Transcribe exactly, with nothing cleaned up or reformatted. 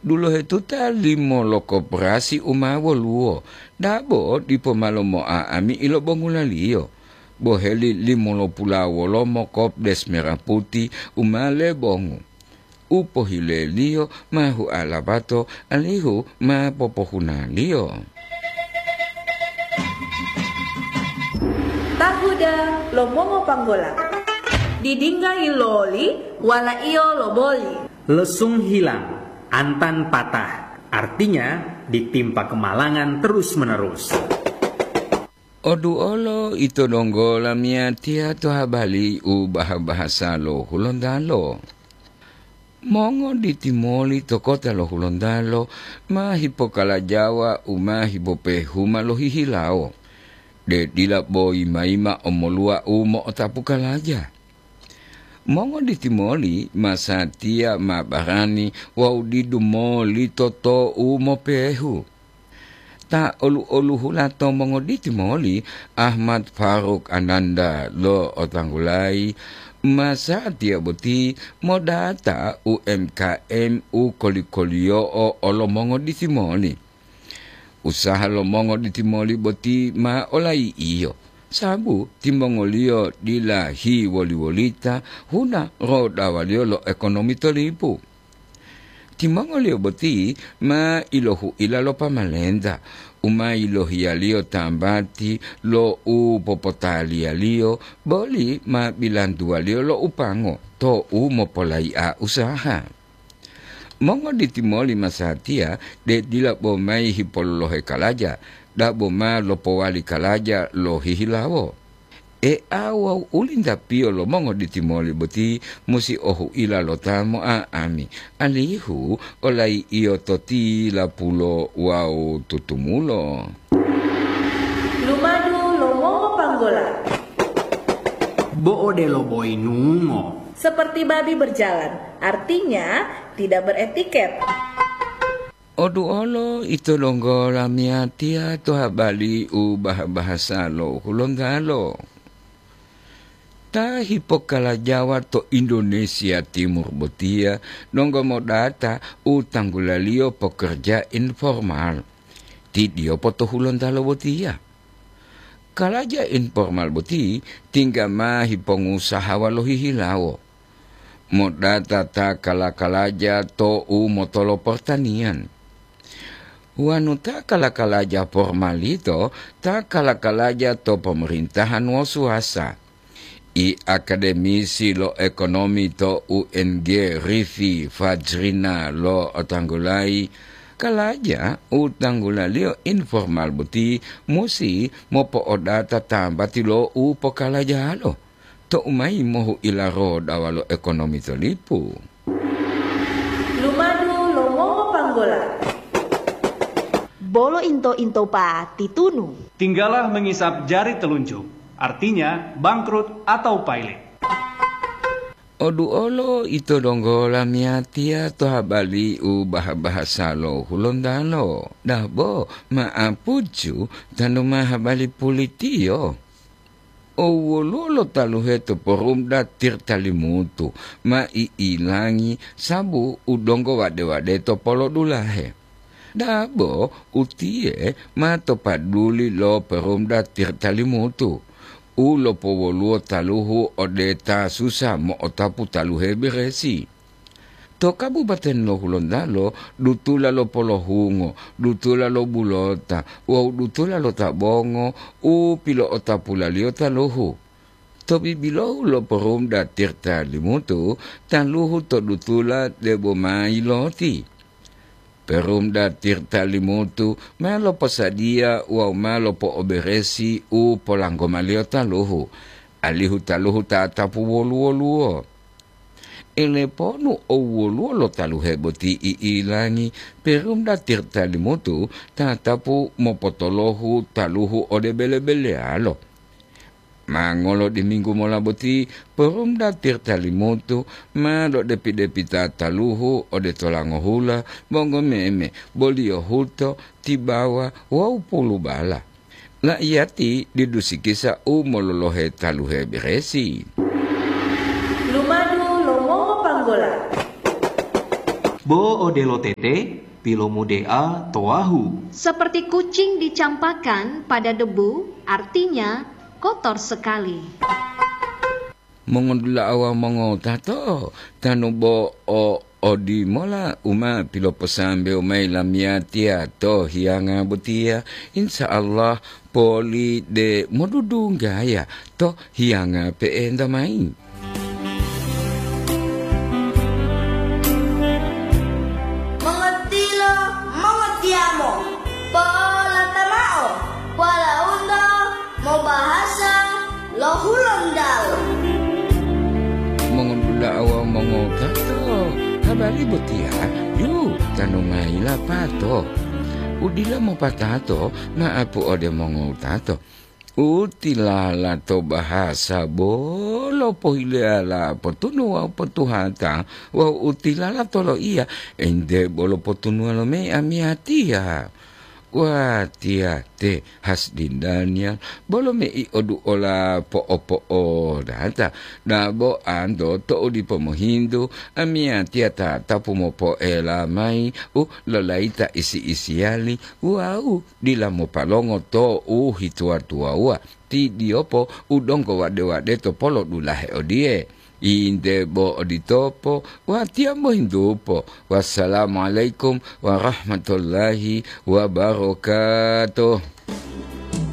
Dulohetuta limo lo koperasi u ma woluwo, dabo dipo malo mo'a'ami ilobongulaliyo, boheli limo lo pulawolomo kopdes mera puti u ma lebongu. U pohileliyo ma hualabato alihu ma popohunaliyo. Tahuda lo mongopanggola. Didingga iloli, walaiyo loboli. Lesung hilang, antan patah, artinya ditimpa kemalangan terus-menerus. Oduolo ito donggo lamiyatiya to habali u baha-bahasa lo Hulontalo. Mongoditi moli to kota lo Hulontalo ma hipokalajawa u ma hipopehuma lohihilawo, de dila boyi mayima omoluwa u mo'otapu kalaja. Mongoditi moli masatiya ma barani wawu didu moli toto'u mopehu. Ta olu-oluhula to mongoditi moli, Ahmad Faruk Ananda lo Otanggulayi, masatiya boti modata U M K M u koli-koliyo'o olo mongoditi moli. Usaha lo mongoditi moli boti ma olayi'iyo, sabu timongoliyo dila hiwoli-wolita huna rodawaliyo lo ekonomi to lipu. Timongoliyo boti ma ilohu'ila lo pamalenta, u ma yilohiyaliyo tambati lo u popotaliyaliyo, boli ma bilantuwaliyo lo upango to u mopolayi'a usaha. Mongoditi moli masatiya de dila bo mayi hipololohe kalaja, dabo ma lopowali kalaja lohihilawo. E'a wawu ulintapiyo lo mongoditi moli boti musi ohu'ila lo ta mo'a'ami, alihu olayi'iyo to tilapulo wawu tutumulo. Lumadu lo mongopanggola. Bo odelo boyinungo. Seperti babi berjalan, artinya tidak beretiket. Oduolo ito donggo lamiyatiya to habali u baha-bahasa lo Hulontalo. Ta hipokalajawa to Indonesia Timur botiya donggo modata u tanggulaliyo pokerja informal. Tidiyopo to Hulontalo botiya. Kalaja informal boti tingga ma hipongusaha walo hihilawo. Modata ta kala-kalaja to u motolo pertanian. Wonu ta kala-kalaja formal yito, ta kala-kalaja to pemerintahan wosuwasa. I akademisi lo ekonomi to U N G Rifi Fajrina lo otanggulayi, kalaja u tanggulaliyo informal boti musi mopo'odata tambati lo u pokalajalo. To'u mayi mohu'ila rodawa lo ekonomi to lipu. Lumadu lo mongopanggola. Bolo into-into pa titunu. Tinggala mengisap jari telunjuk, artinya bangkrut atau pailit. Oduolo ito donggo lamiyatiya to habali u baha-bahasa lo Hulontalo. Dabo ma'apuju tanu ma habali pulitiyo. Owoluwo lo taluhe to Porumda Tirtalimutu ma i'ilangi sabu u donggo wade-wade to polodulahe. Dabo utiye ma to paduli lo Porumda Tirtalimutu u lopowoluwo taluhu ode ta susa mo'otapu taluhe beresi. To Kabupaten lo Hulontalo, dutula lo polohungo, dutula lo bulota wawu dutula lo tabongo u pilo'otapulaliyo taluhu. To bibilohu lo Porumda Tirta Limutu, taluhu to dutula debo ma yiloti. Porumda Tirta Limutu ma loposadiya wawu ma lopo'oberesi u polanggomaliyo taluhu, alihu taluhu tatapu wolu-woluwo. Eleponu owoluwo lo taluhe boti i'ilangi, Porumda Tirta Limutu tatapu mopotolohu taluhu ode bele-beleyalo. Ma ngolo diminggu mola boti, Porumda Tirta Limutu ma lodepi-depita taluhu ode tolangohula, bongomeme, boliyohuto, tibawa wawu pulubala. La'iyati didu sikisa u mololohe taluhe beresi. Lumadu lo mongopanggola. Bo odelo tete, pilomude'a to wahu. Seperti kucing dicampakkan pada debu, artinya kotor sekali. Mongodula'a wawu mongotato, tanu bo o odimola u ma piloposambewo mayi lamiyatiya to hiyanga botiya, insya Allah poli de modudunggaya to hiyanga pe'enta mayi. Mongotilo, mongotiyamo, polata mao, polaunto mobahasa lo Hulontalo. Mongodula'a wawu mongotato, habari botiya yu tanu mayi lapato. Udila mopatato ma'apu ode mongotato. Utilala to bahasa bolo pohileyala potunu wawu potuhata, wawu utilala to loiya, ente bolo potunuwa lo mei amiyatiya. Watiya te Hasdin Daniel, bolo mei oduola po'opo'odata, dabo anto to'u dipo mohintu, amiyatiya tatapu mopo'ela mayi u lolayita isi-isiyali wawu dila mopalongo to u hituwa-tuwawuwa, ti diyopo u donggo wade-wade to polodulahe odiye. Inde bo oditopo, watiya mohintupo. Wassalamualaikum warahmatullahi wabarakatuh.